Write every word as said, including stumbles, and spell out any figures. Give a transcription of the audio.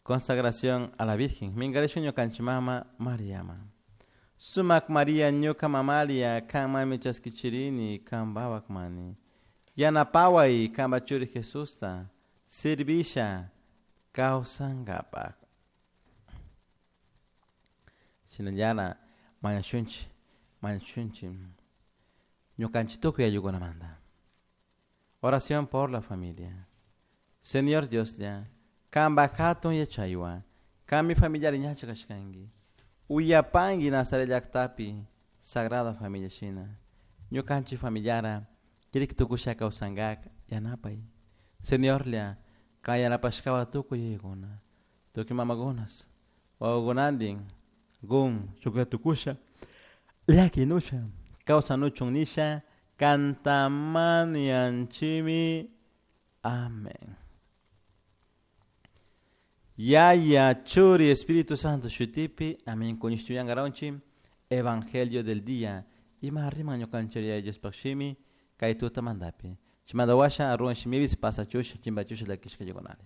Consagración a la Virgen. Minkarishun ñukanchik mama Mariaman. Sumak Maria ñuka mamalia kanmanmi chaskichirini kanpawak mani. Yanapaway kanpa churi Jesusta servisha kawsankapak. Shinallana mañashunchik mañashunchik ñukanchik tukuy ayllukunamanta. Oración por la familia. Señor Dioslla, kanpak hatun yachaywan, kanmi familiari ñacha kashkanki. Uyapanki Nazaret llaktapi Sagrada Familia shina. Ñukanchik familiara kirik tukusha kawsankak yanapay. Señorlla, kan yanapashkawan tukuy yayakuna, tukuy mamakunas, wawakunantin, gun shuklla tukusha, llakinusha, kawsanuchun nisha, kanta mañanchikmi. Amén. Yaya, Churi, Espíritu Santo, shutipi, amén. Kuñishtuyangaronchi, Evangelio del día. Ima riman ñukanchik Yaya Diospaj shimi, kay tutamantapi. Chimanda washa, arruan shimibis, pasachusha, chimbachusha, llakishka yukunari.